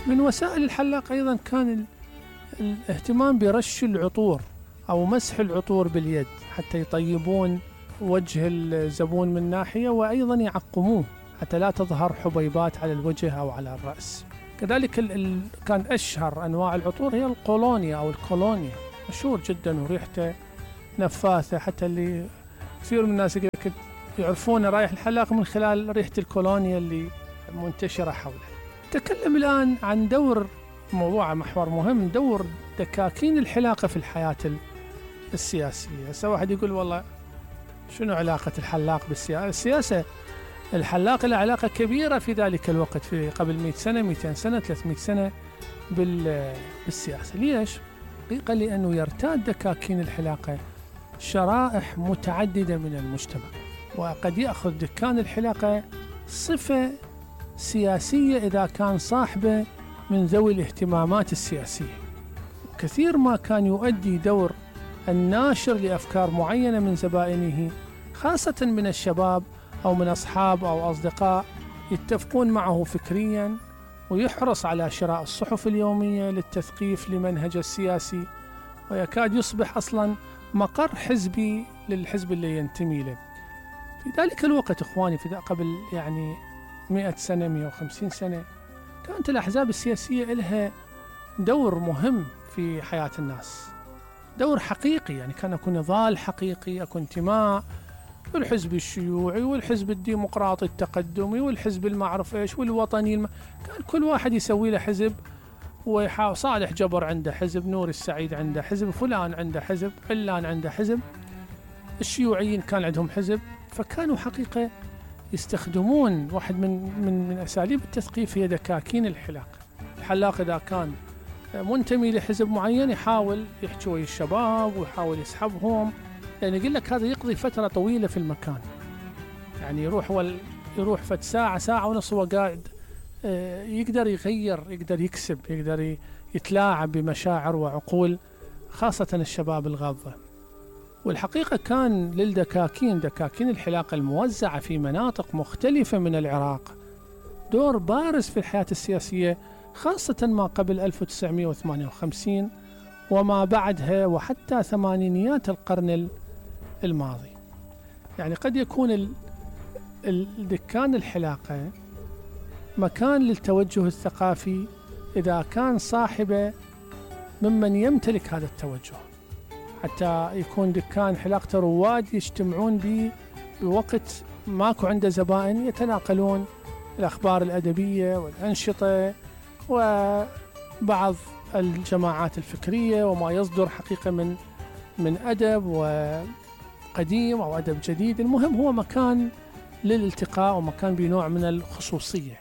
من وسائل الحلاق أيضا كان الاهتمام برش العطور أو مسح العطور باليد حتى يطيبون وجه الزبون من ناحية، وأيضا يعقموه حتى لا تظهر حبيبات على الوجه أو على الرأس. كذلك كان أشهر أنواع العطور هي القولونيا أو الكولونيا، مشهور جدا وريحته نفاثة، حتى اللي كثير من الناس يعرفون رايح الحلاق من خلال ريحة الكولونيا اللي منتشرة حوله. نتكلم الآن عن موضوع محور مهم، دور دكاكين الحلاقة في الحياة السياسية. هسه واحد يقول والله شنو علاقة الحلاق بالسياسة؟ السياسة الحلاق له علاقة كبيرة في ذلك الوقت، في قبل 100 سنة 200 سنة 300 سنة بالسياسة. ليش؟ حقيقة لأنه يرتاد دكاكين الحلاقة شرائح متعددة من المجتمع، وقد يأخذ دكان الحلاقة صفة سياسية إذا كان صاحبه من ذوي الاهتمامات السياسية. كثير ما كان يؤدي دور الناشر لأفكار معينة من زبائنه، خاصة من الشباب أو من أصحاب أو أصدقاء يتفقون معه فكريا، ويحرص على شراء الصحف اليومية للتثقيف لمنهج السياسي، ويكاد يصبح أصلا مقر حزبي للحزب اللي ينتمي له. في ذلك الوقت إخواني، في قبل 100 سنة 150 سنة، كانت الأحزاب السياسية لها دور مهم في حياة الناس، دور حقيقي. كان أكون نضال حقيقي، أكون انتماء، والحزب الشيوعي والحزب الديمقراطي التقدمي والحزب المعرف إيش والوطني كان كل واحد يسوي له حزب، ويحاول صالح جبر عنده حزب، نور السعيد عنده حزب، فلان عنده حزب، علان عنده حزب، الشيوعيين كان عندهم حزب. فكانوا حقيقة يستخدمون واحد من أساليب التثقيف هي دكاكين الحلاق. الحلاق إذا كان منتمي لحزب معين يحاول يحكي ويا الشباب ويحاول يسحبهم، لأن يقول لك هذا يقضي فترة طويلة في المكان، يروح فد ساعة ونص وقاعد، يقدر يغير، يقدر يكسب، يقدر يتلاعب بمشاعر وعقول خاصة الشباب الغاضة. والحقيقة كان دكاكين الحلاقة الموزعة في مناطق مختلفة من العراق دور بارز في الحياة السياسية، خاصة ما قبل 1958 وما بعدها وحتى ثمانينيات القرن الماضي. قد يكون دكان الحلاقة مكان للتوجه الثقافي إذا كان صاحبه ممن يمتلك هذا التوجه، حتى يكون دكان حلاقته رواد يجتمعون به بوقت ماكو عنده زبائن، يتناقلون الأخبار الأدبية والأنشطة وبعض الجماعات الفكرية وما يصدر حقيقة من أدب وقديم أو أدب جديد. المهم هو مكان للالتقاء ومكان بنوع من الخصوصية.